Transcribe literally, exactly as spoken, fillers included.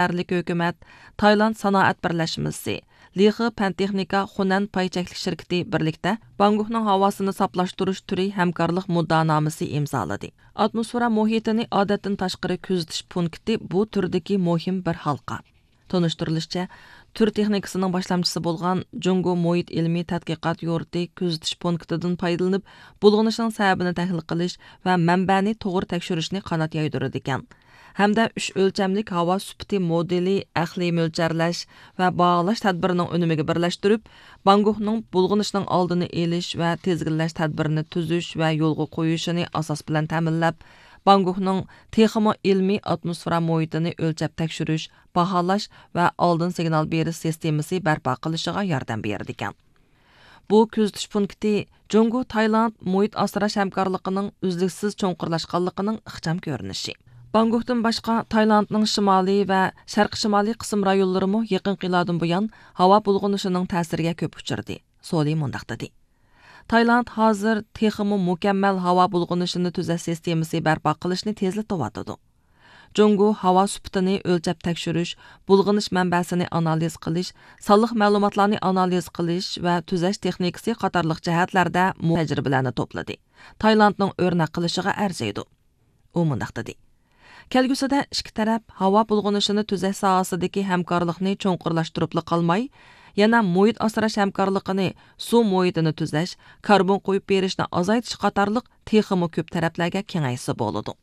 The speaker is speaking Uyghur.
شەھەرلىك ھۆكۈمەت، تايلاند سانائەت بىرلەشمىسى، لىخې پەن تېخنىكا خۇنەن پاي چەكلىك شىركىتى بىرلىكتە بانگكوكنىڭ ھاۋاسىنى ساپلاشتۇرۇش تۈرى ھەمكارلىق مۇددىئانامىسى ئىمزالىدى. ئاتموسفېرا مۇھىتىنى ئادەتتىن تاشقىرى كۆزىتىش پونكىتى بۇ تۈردىكى مۇھىم بىر ھالقا. تونۇشتۇرۇلۇشىچە، تۈر تېخنىكىسىنىڭ باشلامچىسى بولغان جۇڭگو مۇھىت ئىلمىي تەتقىقات يۇرتى كۆزىتىش پونكىتىدىن پايدىلىنىپ، بۇلغىنىشنىڭ سەۋەبىنى تەھلىل قىلىش ۋە مەنبەنى توغرا تەكشۈرۈشنى قانات يايدۇرىدىكەن ھەمدە ئۈچ ئۆلچەملىك ھاۋا سۈپىتى مودېلى ئەقلىي مۆلچەرلەش ۋە باھالاش تەدبىرىنىڭ ئۈنۈمىگە بىرلەشتۈرۈپ، بانگكوكنىڭ بۇلغىنىشنىڭ ئالدىنى ئېلىش ۋە تىزگىنلەش تەدبىرىنى تۈزۈش ۋە يولغا قويۇشىنى ئاساس بىلەن تەمىنلەپ، بانگكوكنىڭ تېخىمۇ ئىلمىي ئاتموسفېرا مۇھىتىنى ئۆلچەپ تەكشۈرۈش، باھالاش ۋە ئالدىن سىگنال بېرىش سىستېمىسى بەرپا قىلىشىغا ياردەم بېرىدىكەن. بۇ كۆزىتىش پونكىتى جۇڭگو تايلاند مۇھىت ئاسراش ھەمكارلىقىنىڭ ئۈزلۈكسىز چوڭقۇرلاشقانلىقىنىڭ ئىخچام كۆرۈنۈشى. بانگكوكتىن باشقا، تايلاندنىڭ شىمالىي ۋە شەرقىي شىمالىي قىسىم رايونلىرىمۇ يېقىنقى يىللاردىن بۇيان ھاۋا بۇلغىنىشىنىڭ تەسىرىگە كۆپ ئۇچرىدى. سولى مۇنداق دېدى: تايلاند ھازىر تېخىمۇ مۇكەممەل ھاۋا بۇلغىنىشىنى تۈزەش سىستېمىسى بەرپا قىلىشنى تېزلىتىۋاتىدۇ. جۇڭگو ھاۋا سۈپىتىنى ئۆلچەپ تەكشۈرۈش، بۇلغىنىش مەنبەسىنى ئانالىز قىلىش، سانلىق مەلۇماتلارنى ئانالىز قىلىش ۋە تۈزەش تېخنىكىسى قاتارلىق جەھەتلەردە مۇ تەجرىبىلەرنى توپلىدى. تايلاندنىڭ ئۆرنەك قىلىشىغا ئەرزىيدۇ. ئۇ مۇنداق دېدى: كەلگۈسىدە ئىككى تەرەپ ھاۋا بۇلغىنىشىنى تۈزەش ساھەسىدىكى ھەمكارلىقنى چوڭقۇرلاشتۇرۇپلا قالماي، يەنە مۇھىت ئاسراش ھەمكارلىقىنى، سۇ مۇھىتىنى تۈزەش، كاربون قويۇپ بېرىشنى ئازايتىش قاتارلىق تېخىمۇ كۆپ تەرەپلەرگە كېڭەيتسە بولىدۇ.